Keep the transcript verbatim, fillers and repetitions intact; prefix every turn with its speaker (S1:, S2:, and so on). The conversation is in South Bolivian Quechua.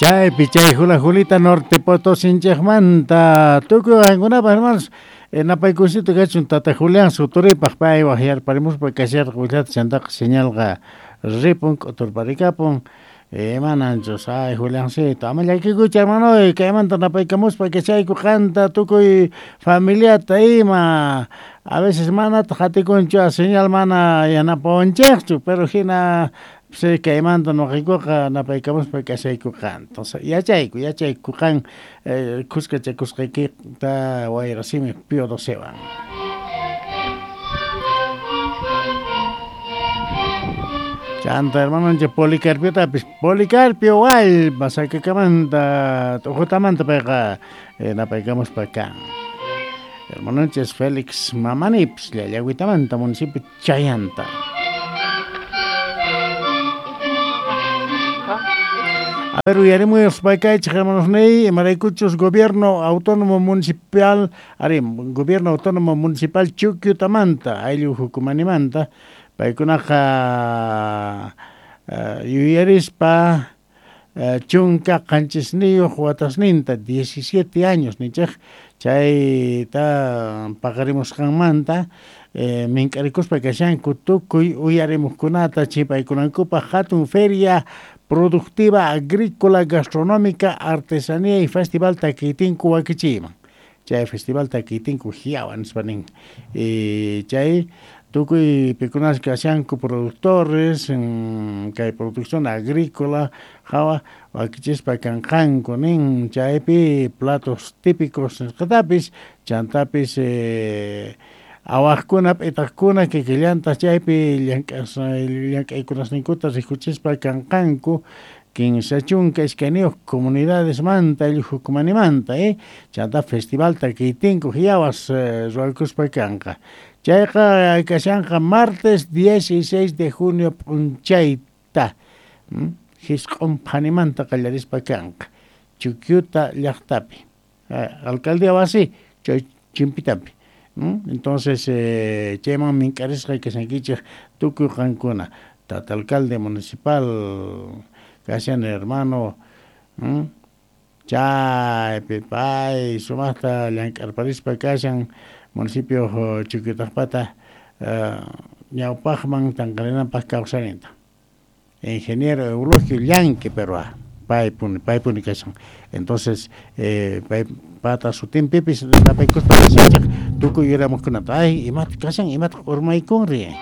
S1: Chaypi chay Jula Julita Norte Potosí-nchejmanta tukuy qankunapaq hermanos napaykusito kachun tata Julián Suturipaq pay waqyarparimuspa kasharqa willata chantaqa señalqa ripun k'uturparikapun mananchus ay Juliancito ama llakikuychu hermano kaymanta napaykamuspa kachayku qanta tukuy familiata ima a veces manataq atikunchu señal mana yanapawanchikchu pero hina sí, kaymanta nuqaykuqa napaykamuspa kashayku qanta yachayku yachayku qan khuskachakusqaykita wayrasimi Pío Docewan. Chanta hermanonchik Policarpiotapis Policarpio Wallpa Sacakamanta Ujutamanta payqa napaykamuspa kan. Hermanonchik Félix Mamanipis Llallagüitamanta municipio Chayanta. A ver, uyarimuy hermanos ney, imaraykuchus gobierno autónomo municipal, ari, gobierno autónomo municipal Chuquiutamanta, ayllu hukumanimanta, paykunaqa uh, yuyarispa uh, chunka qanchisniyuq watasninta, diecisiete años nichej, chayta paqarimusqanmanta, eh, mink'arikuspa kashanku tukuy uyarimuqkunata chipaykunankupaq hatun feria productiva agrícola, gastronómica, artesanía y festival Taquitinku wakichiyman. Chay festival Taquitinku hiawan nispa nin. Y chay tukuy pikunas kashanku productores, kay producción agrícola, hawa wakichispa kanqanku nin chaypi platos típicos nisqatapis, chantapis eh, awaqkuna p'itaqkuna kikillantaq chaypi llank'as llank'aykunasninkuta rikuchispa kanqanku kinsa chunka iskayniyuq comunidadesmanta ayllu hukumanimanta eh chanta festival Taquitinku hiawas eh, ruwakuspa kanqa. Chayqa kashanqa martes dieciséis de junio p'unchayta hisq'un phanimanta qallarispa kanqa Chuquiuta llaqtapi alcaldía wasi chay chimpitapi. Entonces, eh, chayman mink'arisqa kashankichik tukuy qankuna tata alcalde municipal kashan hermano chaypi pay sumaqta llank'arparispa kashan municipio Chuquiutaqpata ñawpaqman tanqarinanpaq kawsarinta ingeniero Eulogio Llanque pero paypuni paypuni kashan entonces eh, pay pata sutinpipis napaykuspa kashanchik tukuy yuramuqkunata ay imataq kashan imataq urmaykunri.